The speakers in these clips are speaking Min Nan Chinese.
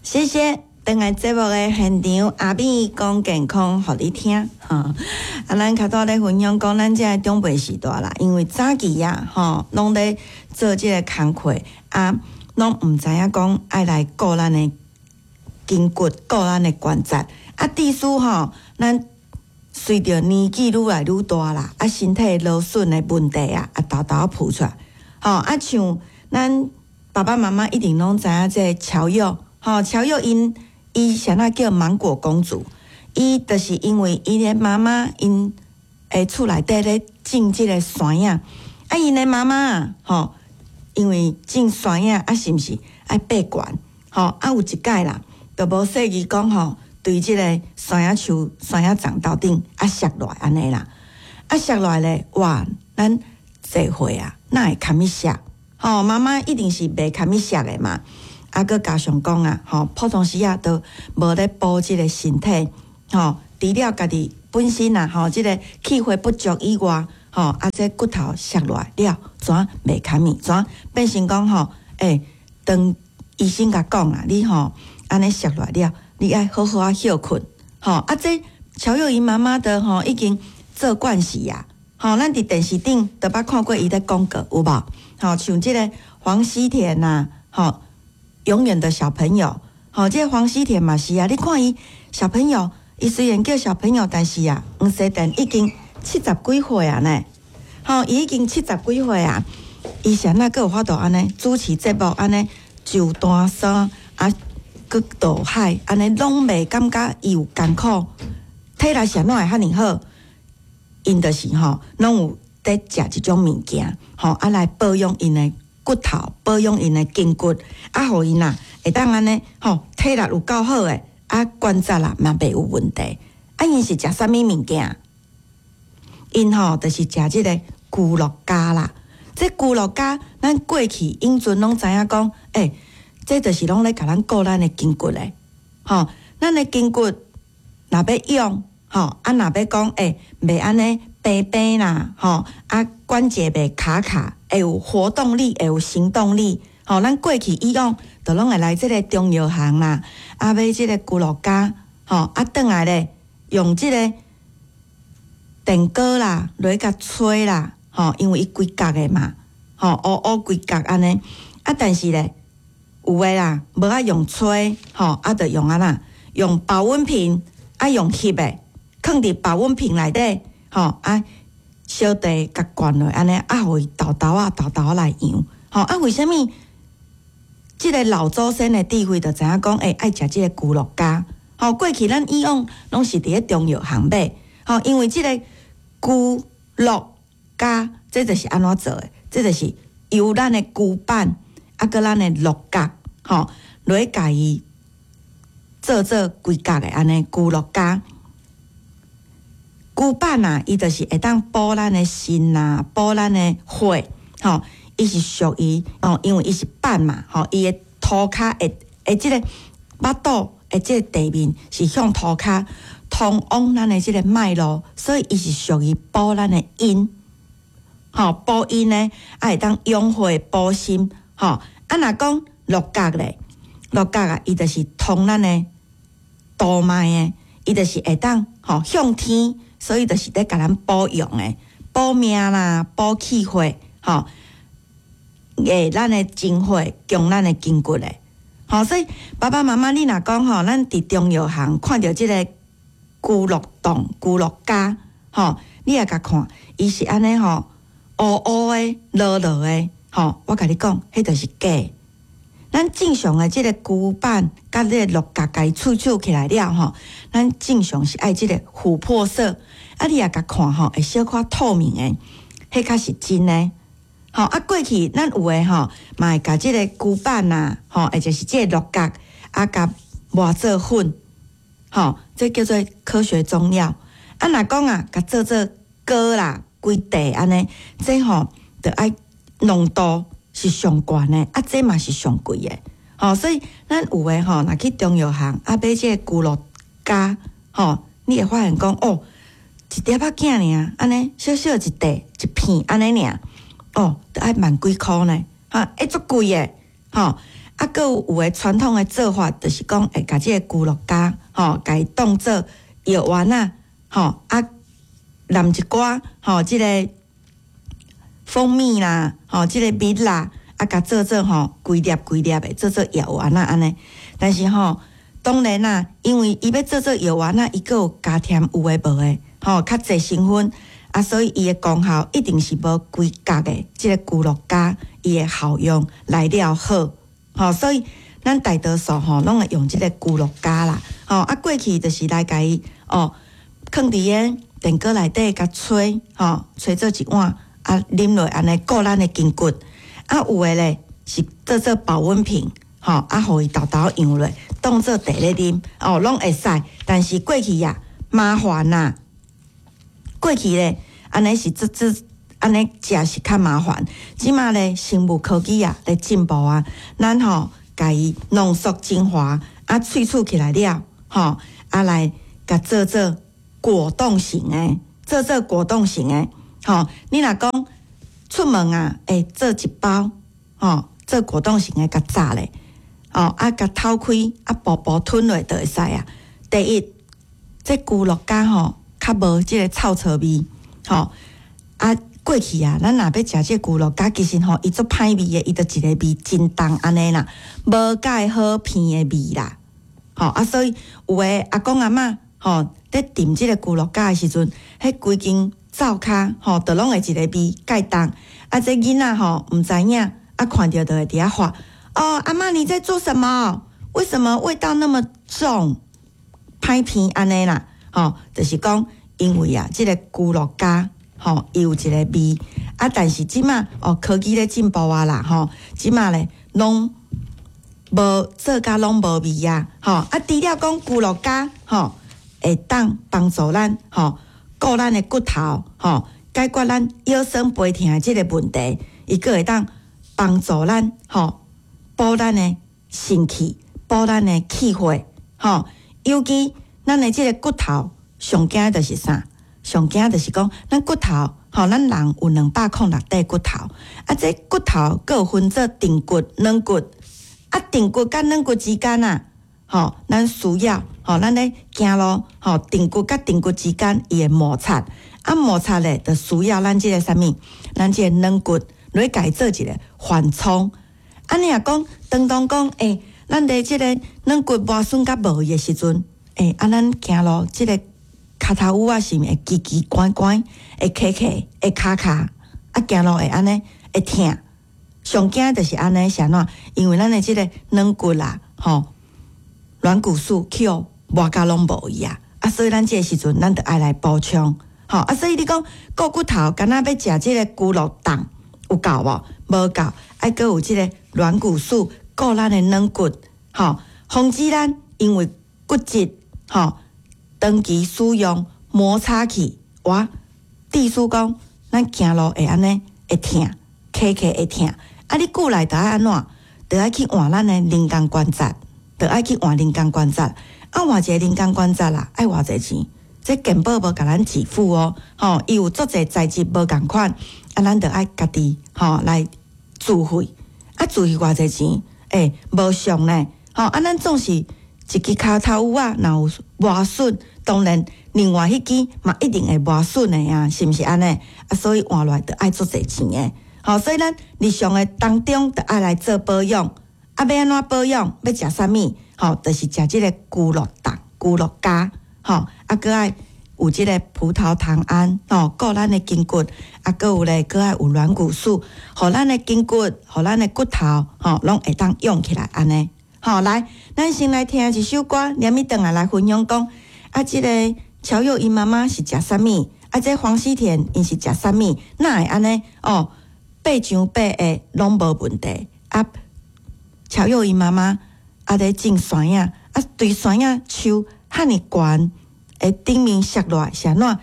謝謝。轉來節目的現場，阿美講健康，予你聽。吼，啊，咱較拄咧分享講，咱這个長輩時代啦，因為早期啊，吼，攏咧做這个工課啊，攏毋知影講愛來顧咱的筋骨，顧咱的關節。啊，致使吼，咱隨著年紀愈來愈大啦，啊，身體勞損的問題啊，啊，沓沓浮出來。吼，啊，像咱爸爸媽媽一定攏知影這个喬佑，吼，喬佑𪜶。伊啥那叫芒果公主？伊就是因為伊的媽媽𪜶的厝內底咧種這个山仔，啊，𪜶的媽媽吼，因為種山仔啊，是毋是愛爬懸？吼，啊，有一擺啦，就無細意講吼，對這个山仔樹、山仔叢頭頂啊，摔落來按呢啦，啊，摔落來咧，哇！咱這歲啊，哪會堪伊摔？吼，媽媽一定是袂堪伊摔的嘛。啊，閣加上講啊，吼，普通時啊都無咧補這个身體，吼，除了家己本身啊，吼，這个氣血不足以外，吼，啊，這骨頭摔落來了，怎袂堪伊？怎變成講吼，欸，當醫生共講啊，你吼按呢摔落來了，你愛好好仔歇睏，吼，啊，這喬佑𪜶媽媽的吼已經做慣勢啊，吼，咱佇電視頂都捌看過伊咧廣告，有無？吼，像這个黃西田吶，吼。永遠的小朋友，吼，這个黃西田嘛是啊，你看伊小朋友，伊雖然叫小朋友，但是啊，黃西田已經七十幾歲啊呢，吼，伊已經七十幾歲啊，伊啥那閣有法度按呢主持節目，按呢上大山啊，閣渡海，按呢攏袂感覺伊有艱苦，體力啥怎會遐爾好？𪜶就是吼，攏有佇食這種物件，吼，啊來保養𪜶的骨頭，保養𪜶的筋骨，啊，予𪜶啊會當按呢，吼，體力有夠好的，啊，關節啦嘛袂有問題。啊，𪜶是食啥物物件？𪜶吼就是食這个龜鹿膠啦。這龜鹿膠，咱過去以前攏知影講，欸，這就是攏咧共咱顧咱的筋骨的，吼，咱的筋骨若欲養，吼，啊，若欲講，欸，袂按呢平平啦，吼，啊，關節袂卡卡，會有活動力，會有行動力，吼，咱過去以往就攏會來這个中藥行啦，啊，買這个龜鹿膠，吼，啊，轉來咧用這个電鍋啦，落共炊啦，吼，因為伊規角的嘛，吼，烏烏規角按呢，啊，但是咧，有的啦，無愛用炊，吼，啊，就用按怎，用保溫瓶，啊，用翕的，囥佇保溫瓶內底，吼，啊，小茶共灌落按呢，啊，予伊沓沓仔沓沓仔來揚，吼，啊，為啥物？這个老祖先的智慧就知影講，欸，愛食這個龜鹿膠，吼，過去咱以往攏是佇咧中藥行買，吼，因為這个龜鹿膠，這就是按怎做的？這就是由咱的龜板，啊，閣咱的鹿角，吼，來共伊做做規角的按呢龜鹿膠。龜板啊，伊就是會當補咱的腎啊，補咱的血，吼，伊是屬於哦，因為伊是板嘛，吼，伊的塗跤會會這个腹肚的這个地面是向塗跤通往咱的這个脈絡，所以伊是屬於補咱的陰，吼，補陰呢，啊會當養血補心，吼，啊若講鹿角咧，鹿角啊，伊就是通咱的督脈的，伊就是會當吼向天。所以就是咧共咱補陽的，補命啦，補氣血，吼，會咱的精血，強咱的筋骨的，吼。所以爸爸媽媽，你若講吼，咱佇中藥行看著這个龜鹿凍、龜鹿膠，吼，你也共看，伊是按呢吼，烏烏的、濁濁的，吼，我共你講，彼就是假。咱正常的這个龜板佮這个鹿角共伊處處起來了吼，咱正常是愛這个琥珀色，啊，你也共看吼，會小可透明的，彼較是真的。吼，啊，過去咱有的吼，嘛會共這个龜板啊，吼，或者是這个鹿角啊，共磨做粉，吼，這叫做科學中藥。啊，若講啊，共做做膏啦、規塊按呢，這吼著愛濃度是上懸的，啊，這嘛是上貴的，吼，所以咱有的吼，若去中藥行啊買這个龜鹿膠，吼，你會發現講哦，一粒仔囝爾，按呢小小一塊一片按呢爾，哦，著愛萬幾箍呢，哈，會足貴的，吼，啊，閣有有的傳統的做法，就是講會共這個龜鹿膠，吼，共伊當做藥丸仔，吼，啊，淋一寡吼，這个蜂蜜啦，吼，這個蜜啦，啊，共做做吼，規粒規粒的，做做藥丸仔按呢。但是吼，當然啦，因為伊欲做做藥丸仔，伊閣有加添有的無的，吼，較濟成分，啊，所以伊的功效一定是無規角的，這个龜鹿膠伊的效用來了好。吼，所以咱大多數吼攏會用這个龜鹿膠啦。吼，啊，過去就是來共伊哦，囥佇个電鍋內底共炊，吼，炊做一碗，啊，啉落按呢顧咱的筋骨。啊，有的咧是做做保溫瓶，吼，啊，予伊沓沓溶落，當做茶咧啉，哦，攏會使。但是過去啊，麻煩啦。過去咧，按呢是做做按呢食是較麻煩。這馬咧生物科技啊咧進步啊，咱吼共伊濃縮精華，啊，萃取起來了，吼，啊來共做做果凍型的，做做果凍型的，吼，你若講出門啊，會做一包，吼，做果凍型的共紮咧，哦，啊，共透開，啊，步步吞落就會使啊。第一，這龜鹿膠吼較無這个臭臭味，吼，啊，過去啊，咱若欲食這個龜鹿膠，其實吼伊足歹味的，伊就一個味真重按呢啦，無蓋好鼻的味啦，吼啊，所以有的阿公阿嬤吼佇浸這个龜鹿膠的時陣，彼規間灶跤吼，就攏會一個味蓋重，啊，這囡仔吼毋知影，啊，看著就會佇遐喊，哦，阿嬤你在做什麼？為什麼味道那麼重？歹鼻按呢啦，吼，就是講因為啊，這个龜鹿膠吼，伊有一個味，啊，但是這馬哦，科技咧進步啊啦，吼，這馬咧攏無做甲攏無味啊，吼，啊，除了講龜鹿膠吼，會當幫助咱吼，顧咱的骨頭吼，解決咱腰酸背疼的這个問題，伊閣會當幫助咱吼，補咱的腎氣，補咱的氣血，吼，尤其咱的這个骨頭上驚就是啥？上驚就是講，咱骨頭吼，咱人有206塊骨頭，啊，這骨頭閣有分做硬骨、軟骨，啊，硬骨佮軟骨之間啊，吼，咱需要吼，咱咧行路吼，硬骨佮硬骨之間伊會摩擦，啊，摩擦咧就需要咱這个啥物？咱這个軟骨來共伊做一个緩衝。啊，你若講當當講，欸，咱佇這个軟骨磨損甲無去的時陣，欸，啊，咱行路這个跤頭趺仔是毋會吱吱關關，會卡卡，會卡卡，啊，行路會按呢會疼。上驚就是按呢，是按怎？因為咱的這个軟骨啦，吼，軟骨素去予磨甲攏無去啊，啊，所以咱這个時陣，咱就愛來補充，吼，啊，所以你講顧骨頭，敢若欲食這个龜鹿凍有夠無？無夠，愛閣有這个軟骨素顧咱的軟骨，吼，防止咱因為骨質，吼，長期使用摩擦去，哇，意思講咱行路會按呢會疼，卡卡會疼。啊，你久來就愛按怎？就愛去換咱的人工關節，就愛去換人工關節。啊，換一個人工關節啦，愛偌濟錢？這健保無共咱給付哦，吼，伊有足濟材質無仝款，啊，咱就愛家己吼來自費。啊，自費偌濟錢？欸，無俗呢，吼，啊，咱總是一支跤頭趺仔，若有磨損，當然另外彼支嘛一定會磨損的啊，是毋是按呢？啊，所以換落來就愛足濟錢的，吼，所以咱日常的當中就愛來做保養。啊，欲按怎保養？欲食啥物？吼，就是食這个龜鹿凍、龜鹿膠，吼，啊，閣愛有這个葡萄糖胺，吼，顧咱的筋骨，啊，閣有咧，閣愛有軟骨素，予咱的筋骨，予咱的骨頭，吼，攏會當用起來按呢。好，來，咱先來聽一首歌，連咪轉來來分享講，啊，這个喬佑𪜶媽媽是食啥物？啊，這黃西田𪜶是食啥物？哪會按呢？哦，爬上爬下攏無問題。啊，喬佑𪜶媽媽啊咧種山仔，啊，對山仔樹遐爾懸，會頂面摔落來是按怎？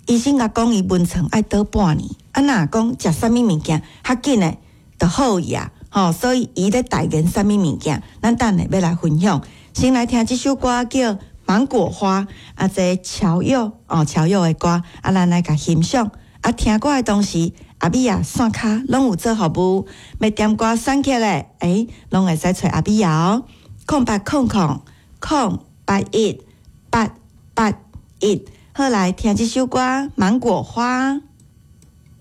醫生共講伊眠床愛倒半年，啊，若講食啥物物件較緊的，就好去啊。吼，所以伊咧代言啥物物件，咱等下欲來分享。先來聽這首歌叫《芒果花》，啊，這喬佑哦，喬佑的歌，啊，咱來共欣賞。啊，聽歌的同時，也阿美仔線跤攏有做服務，欲點歌選曲的，攏會使揣阿美仔哦。0800 081 881，好，來聽這首歌《芒果花》。